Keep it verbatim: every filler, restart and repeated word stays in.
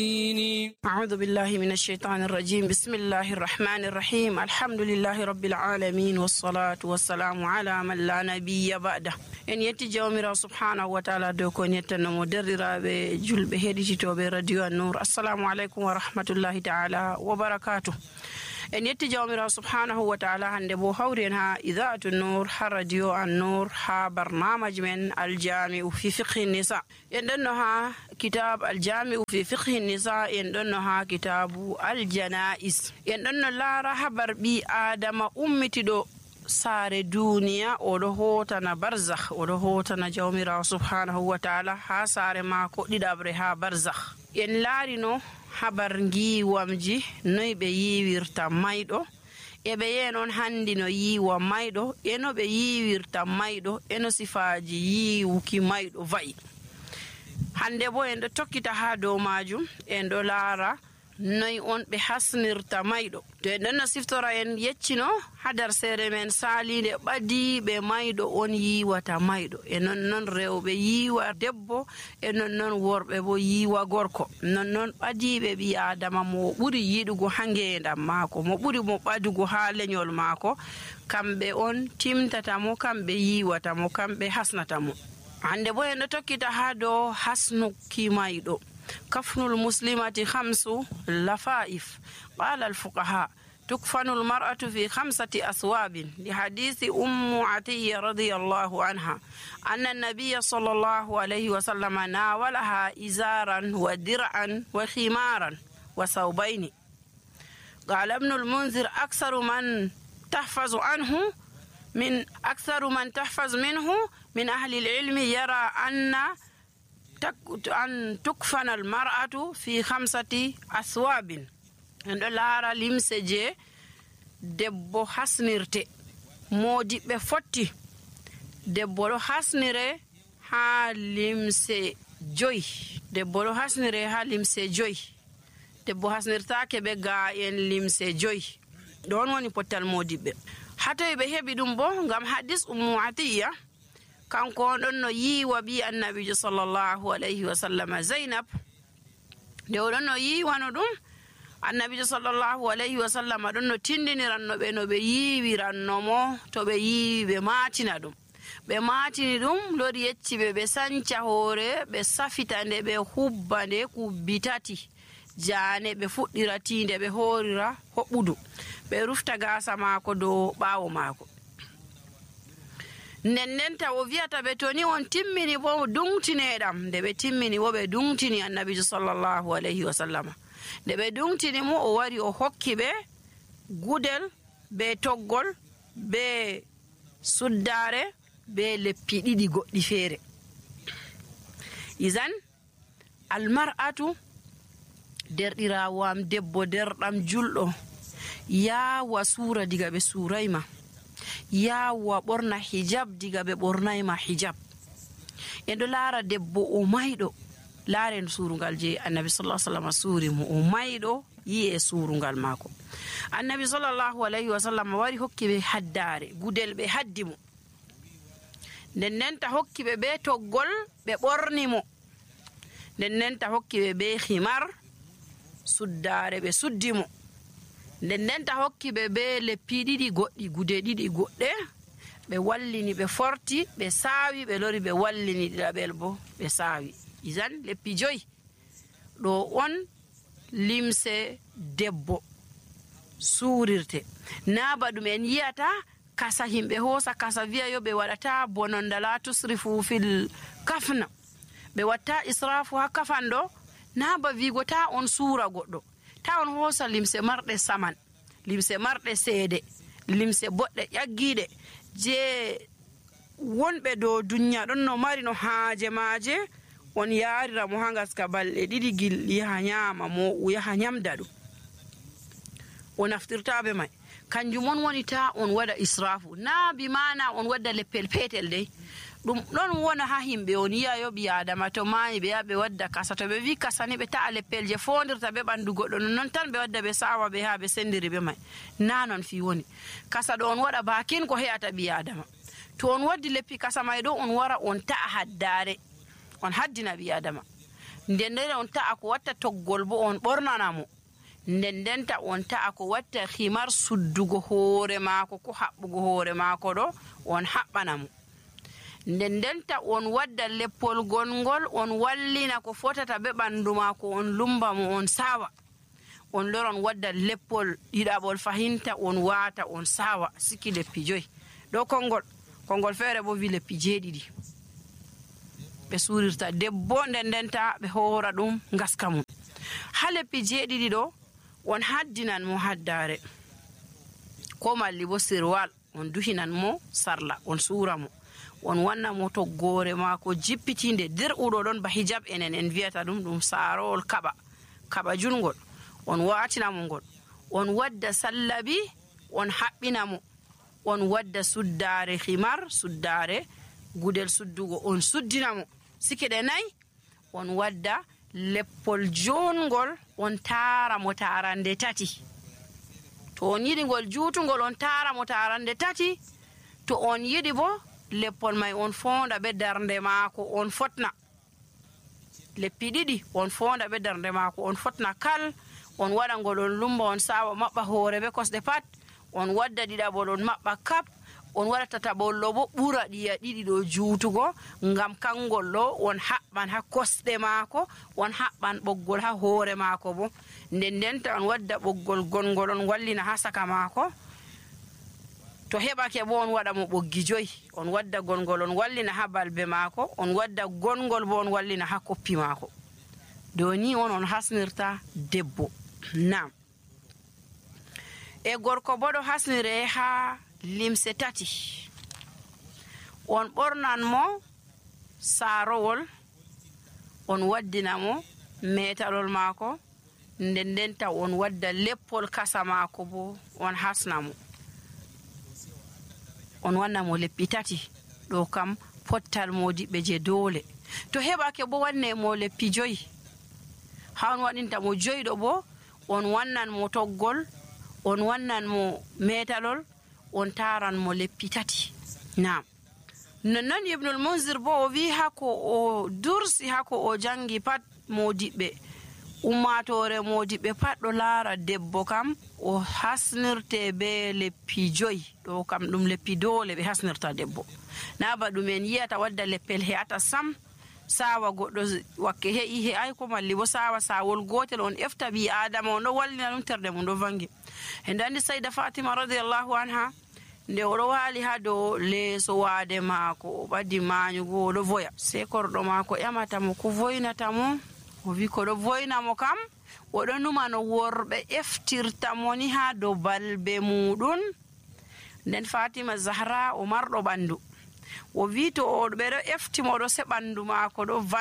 أعوذ بالله من الشيطان الرجيم بسم الله الرحمن الرحيم الحمد لله رب العالمين والصلاة والسلام على من لا نبي بعده en yetti jawmirawo subhanahu wa taala dow ko yettanomo derɗiraɓe julɓe heɗititoɓe radio an-nour assalamu aleykum wa rahmatullahi taala wa barakatuh. en yetti jawmirawo subhanahu wa taala hande bo hawri en ha idaatu nour ha radio an-nour ha barnamaji men aljami'u fi fiqhi nisa. en ɗonno ha kitab aljami'u fi fiqhi nisa, en ɗonno ha kitabu aljanais. en ɗonno laara habar ɓi adama ummitiɗo saare duniya oɗo hotana barzakh, oɗo hotana jawmirawo subhanahu wa taala ha saare mako ɗiɗabre ha barzakh. en laarino habar giwamji noy ɓe yiwirta mayɗo, e ɓe yenon handi no yiwa mayɗo, e no ɓe yiwirta mayɗo, e no sifaji yiwuki mayɗo va'i. hande bo en ɗo tokkita ha dow majum, en ɗo laara noy on ɓe hasnirta mayɗo. to en ɗon no siftora en yeccino ha dar sere men salinde ɓadiɓe mayɗo on yiwata mayɗo, e non non rewɓe yiwa debbo, e non non worɓe bo yiwa gorko. non non ɓadiɓe ɓi adama mo ɓuri yiɗugo ha ngendam maako, mo ɓuri mo ɓadugo ha leñol maako, kamɓe on timtata mo, kamɓe yiwata mo, kamɓe hasnata mo. hande bo en ɗo tokkita ha dow hasnuki mayɗo. كفن المسلمة خمس لفائف. قال الفقهاء تكفن المرأة في خمسة أثواب لحديث أم عطية رضي الله عنها أن النبي صلى الله عليه وسلم ناولها إزارا ودرعا وخمارا وثوبين. قال ابن المنذر أكثر من تحفظ عنه من أكثر من تحفظ منه من أهل العلم يرى أن أن تكفن المرأة في خمسة أثواب. عند لارا لمسجي دبو حسنرتي مودي بفتي دبو حسنري ها لمسي جوي دبو حسنري ها لمسي جوي debbo hasnirtaake be ga en limse joyi. ɗon woni pottal modiɓɓe. hatoy ɓe heɓi ɗum bo ngam hadis ummu atiya, kanko on ɗon no yiwa bi annabijo sallallahu alayhi wa sallam zainab. nde oɗon no yiwano ɗum, annabijo sallallahu alayhi wa sallam ɗon no tindiniranno ɓe no ɓe yiwirannomo to ɓe yiwi ɓe matina ɗum. ɓe matini ɗum lori yecci ɓe ɓe sanca hoore, ɓe safita nde, ɓe hubba nde kubbi tati jane, ɓe fuɗɗira tinde, ɓe horira hoɓɓudu, ɓe rufta gasa maako dow ɓawo maako. nden nden taw o wiyata ɓe to ni on timmini bo dungtineɗam. nde ɓe timmini bo ɓe dungtini annabijo sallallahu alayhi wa sallama. nde ɓe dungtini mo, o wari o hokki ɓe gudel be toggol be suddare be leppi ɗiɗi goɗɗi feere. izan almar'atu, derɗirawo am debbo derɗam julɗo, yawa suura diga ɓe suurayma, yawa ɓorna hijab diga ɓe ɓornayma hijab. en ɗo laara debbo o mayɗo, laaren suurungal je annabi sallallahu alaihi wasallam suuri mo, o mayɗo yi e suurungal maako. annabi sallallahu alaihi wasallam wari hokki ɓe haddare, gudel ɓe haddi mo, nden nden ta hokki ɓe be toggol ɓe ɓorni mo, nden nden ta hokki ɓe be himar suddare ɓe suddi mo, nden nden ta hokki ɓe be leppi ɗiɗi goɗɗi, gude ɗiɗi goɗɗe, ɓe wallini ɓe forti, ɓe saawi, ɓe lori ɓe wallini ɗiɗaɓel bo ɓe saawi. izan leppi joyi ɗo on limse debbo suurirte. na ba ɗum en yiyata kasa himɓe hoosa kasa wiya yo ɓe waɗata bononda la tusrifu fil kafna, ɓe watta israfu ha kafan ɗo. na ba wigo ta on suura goɗɗo, ta on hoosa limse marɗe saman, limse marɗe seede, limse boɗɗe ƴaggiɗe je wonɓe dow duniya ɗon no mari no haaje maaje, on yarira mo ha gaska balɗe ɗiɗi gilɗi yaha nyama mo, yaha nyamda ɗum, o naftirtaɓe may. kanjum on woni ta on waɗa israfu. na bi mana on wadda leppel petel dey, ɗum ɗon wona ha himɓe on yiya yo ɓi adama to maayi ɓe yaha ɓe wadda kasa, to ɓe wi kasa ni ɓe ta'a leppel je fondirta ɓe ɓandu goɗɗo, non tan ɓe wadda ɓe sawa ɓe ha ɓe sendiri ɓe may. na non fi woni kasa ɗo on waɗa bakin ko he'ata ɓi adama. to on waddi leppi kasa may ɗo, on wara on ta'a haddare, on haddina ɓi adama. nden nden on ta'a ko watta toggol bo on ɓornanamo, nden ndenta on ta'a ko watta himar suddugo hoore maako ko haɓɓugo hoore maako ɗo on haɓɓanamo, nden ndenta on wadda leppol gongol on wallina ko fotata be ɓandu maako on lumba mo on sawa, on loron wadda leppol ɗiɗaɓol fahinta on waata on sawa siki leppi joyi ɗo konngol konngol feere bo wi leppi jeeɗiɗi ɓe suurirta debbo, nden ndenta ɓe hoora ɗum ngaska mum. ha leppi jeeɗiɗi ɗo on haddinan mo haddare ko malli bo sirwal, on duhinan mo sarla on suura mo, on wanna mo toggore maako jippitinde dirɓuɗo ɗon ba hijab enen en wiyata ɗum ɗum saarowol kaɓa kaɓa jungol, on waatina mo ngol, on wadda sallabi on haɓɓina mo, on wadda suddare himar suddare gudel suddugo on suddina mo sikiɗe nayi, on wadda leppol jongol on taara mo taarande tati, to on yiɗi ngol juutugol on taara mo taarande tati, to on yiɗi bo leppol may on fonda be darnde maako on fotna, leppi ɗiɗi on fonda be darnde maako on fotna kal, on waɗa ngol on lumba on sawa maɓɓa hoore be kosɗe pat, on wadda ɗiɗaɓol on maɓɓa kap, on waɗa tataɓollo bo ɓura ɗiya ɗiɗi ɗo juutugo, ngam kangol ɗo on haɓɓan ha kosɗe maako, on haɓɓan ɓoggol ha hoore maako bo, nden ndenta on wadda ɓoggol gongol on wallina ha saka maako, to heɓake bo on waɗa mo ɓoggi joyi, on wadda gongol on wallina ha balbe maako, on wadda gongol bo on wallina ha koppi maako. Do ni on on hasnirta debbo. Nam e gorko bo ɗo hasnire ha limse tati, on ɓornan mo saarowol, on waddina mo metalol maako, nden ndenta on wadda leppol kasa maako bo on hasna mo, on wanna mo leppi tati ɗo kam pottal modiɓɓe je doole. To heɓake bo wanne mo leppi joyi, ha on waɗinta mo joyi ɗo bo on wannan mo toggol, on wannan mo metalol, on taran mo leppi tati. Naam, nonnon Ibnul Munzir bo o wi hako o dursi hako o jangi pat modiɓɓe ummatore modiɓɓe pat ɗo laara debbo kam o hasnirte be leppi joyi, ɗo kam ɗum leppi doole ɓe hasnirta debbo, na ba ɗumen yiyata wadda leppel he'ata sam sawa goɗɗo wakke he'i he'ai ko malli bo sawa sawol gotel on efta ɓi adama on ɗo wallina ɗum terde mum ɗo vangi. En andi Sayda Fatima radiyallahu anha nde oɗo waali ha dow leeso waade maako o ɓaddi maanyugo oɗo voya, sei korɗo maako ƴamata mo ko voynata mo, o wi ko ɗo voyna mo kam oɗo numa no worɓe eftirta mo ni ha dow balbe muɗum. Nden Fatima Zahra o marɗo ɓandu, o wi to o ɓeɗo efti mo ɗo se ɓandu maako ɗo